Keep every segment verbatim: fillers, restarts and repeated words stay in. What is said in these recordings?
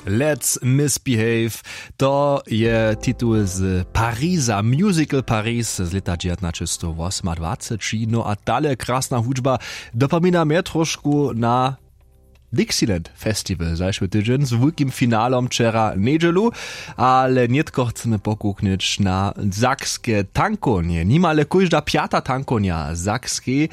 Let's Misbehave. To je titul z Pariza, musical Paris z lěta dźewjatnaćestowwosomadwaceći. No a tale krasna hudźba dopomina mje trošku na Dixieland Festival zašły tydźeń z wulkim finalom wčera njedźelu. Ale nětko chcemy pokuknyć na sakske tankownje. Nimale kóžda pjata tankownja w Sakskej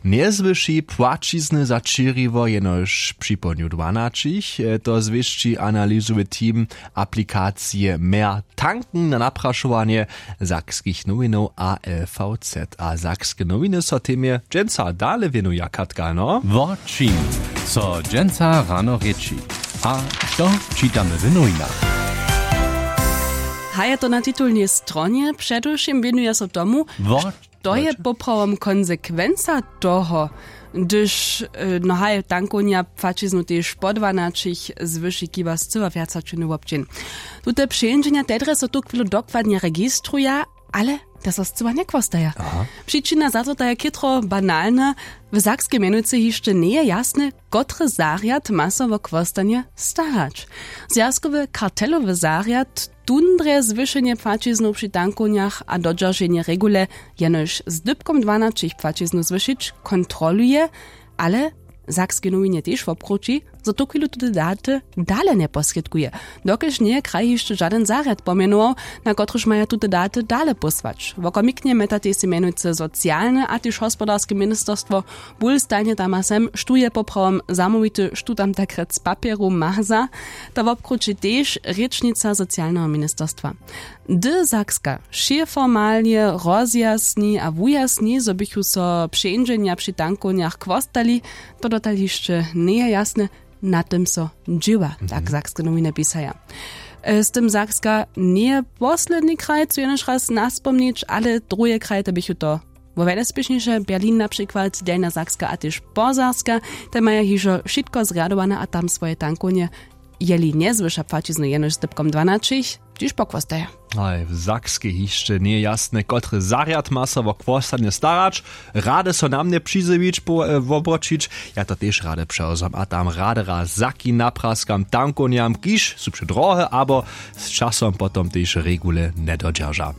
njezwyši płaćizny za čěriwo jenož při połdnju dwanaćich. To zwěsći analizowy team aplikacije Mehr Tanken na naprašowanje Sakskich nowinow a L V Z. A Sakske nowiny so temje dźensa dale wěnuja, Katka, no? Wo čim so dźensa rano rěči a što čitamy w nowinach? Haja to na titulnej stronje předewšěm wěnuje so tomu, wo to je poprawom konsekwenca toho, hdyž, e, no haj, tankownja płaćiznu tež po dwanaćich zwyši kiba scyła wjaca činy wobdźeń. Tute přeńdźenja tedre so tuchwilu dokładnje registruja, ale te so scyła njechłostaja. Přičina za to ta je chětro banalna. W Sakskej mjenujcy hišće njeje jasne, kotry zarjad ma so wo chłostanje starać. Zwjazkowy kartelowy zarjad tundre zwyšenje płaćiznow při tankownjach a dodźerženje regule jenož z dypkom dwanaćich płaćiznu zwyšić kontroluje. Ale w Sakskej nowinje tež wobkrući, zo tuchwilu tute daty dale njeposrědkuje, dokelž njeje kraj hišće žadyn zarjad pomjenował, na kotryž maja tute daty dale pósłać. Wokomiknje mjetatej sej mjenujcy socialne a tež hospodarske ministerstwo bul stajnje tam a sem, štó je poprawom zamołwity, štó tam tak rjec papjeru maza. To wobkrući tež rěčnica socialneho ministerstwa. Hdy Sakska wšě formalnje rozjasni a wujasni, zo běchu so přeńdźenja při tankownjach chłostali, to dotal hišće njeje jasne. Na tym so dźěła, tak Sakske nowiny pisaja. E, z tym Sakska njeje posledni kraj, co jenož raz naspomnić, ale druhe kraj to běchu to wo wjelespěšnješe, Berlin na přikład, Delnja Sakska a tež Posaska. Te maja hižo wšitko zrjadowane a tam swoje tankownje, jeli njezwyša płaćiznu jenož z dypkom dwanaćich, hdźež pochłostaja. Haj, w Sakskej hišće njeje jasne, kotry zarjad ma so wo chłostanje starać. Rady so na mnje přizjewić, po- e, wobroćić. Ja to tež rady přewzam a tam rady raz saki napraskam tankownjam, kiž su předrohe abo z časom potom tež regule njedodźerža.